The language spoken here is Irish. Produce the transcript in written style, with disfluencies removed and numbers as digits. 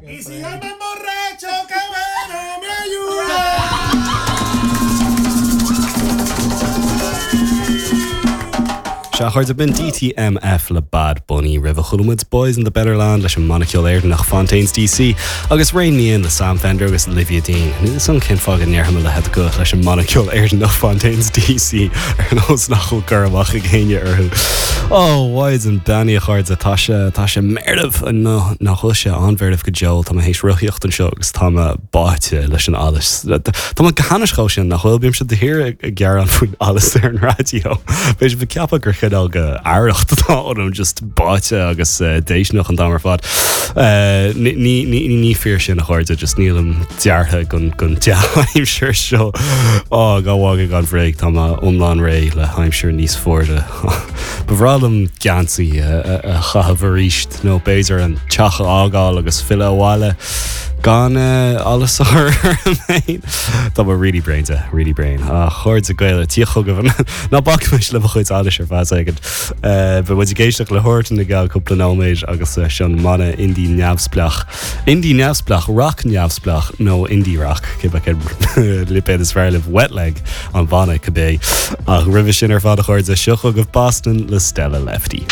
Y si hoy me emborracho, qué bueno me ayuda. Sea, a chairde, b'in DTMF le Bad Bunny. Roimhe chuala muid Boys in the Better Land leis an mbanna ceoil Éireannach Fontaines DC agus Rein Me In le Sam Fender agus Olivia Dean. Níl 'fhios a'm cén fáth go ndéarfainn a leithéid de ghuth leis an mbanna ceoil Éireannach Fontaines DC ar nós nach bhfuil cur amach ag éinne orthu. Ó, mhaighdean beannaithe a chairde, tá sé, tá sé meirbh! Nó nach bhfuil sé an-mheirbh go deo, tá mé théis rothaíocht anseo agus tá mé báite leis an allas. Tá mé go hainnis chomh sin, nach bhfuil? Bímse de shíor ag gearán faoin allas ar an raidió. Beidh sibh ag ceapadh gur chineál de arracht atá ionam, just báite agus déistineach an t-am ar fad. Ní, ní, ní fíor sin a chairde, just nílim deartha don, don dea-aimsir seo. Á, gan mhagadh gan bhréig, tá mé iomlán réidh le haimsir níos fuaire. Ba bhreá liom geansaí a chaitheamh arís nó b'fhéidir an teach a fhágáil agus filleadh abhaile gan allas a chur orm féin. Tá mé really bréan de, really bréan. A chairde Gael, tíocht chugaibh, ná bacaimis le mo chuid allais ar feadh soicind. Beidh muid ag éisteacht le Huartan i gceann cúpla nóiméad agus seo an mbanna indie neamhspleách. Indie neamhspleách, rac neamhspleách nó indie rac, cibé cén lipéad is fearr libh, Wet Leg an banna cibé. Ach roimhe sin ar fad a chairde, seo chugaibh Boston le Stella Lefty.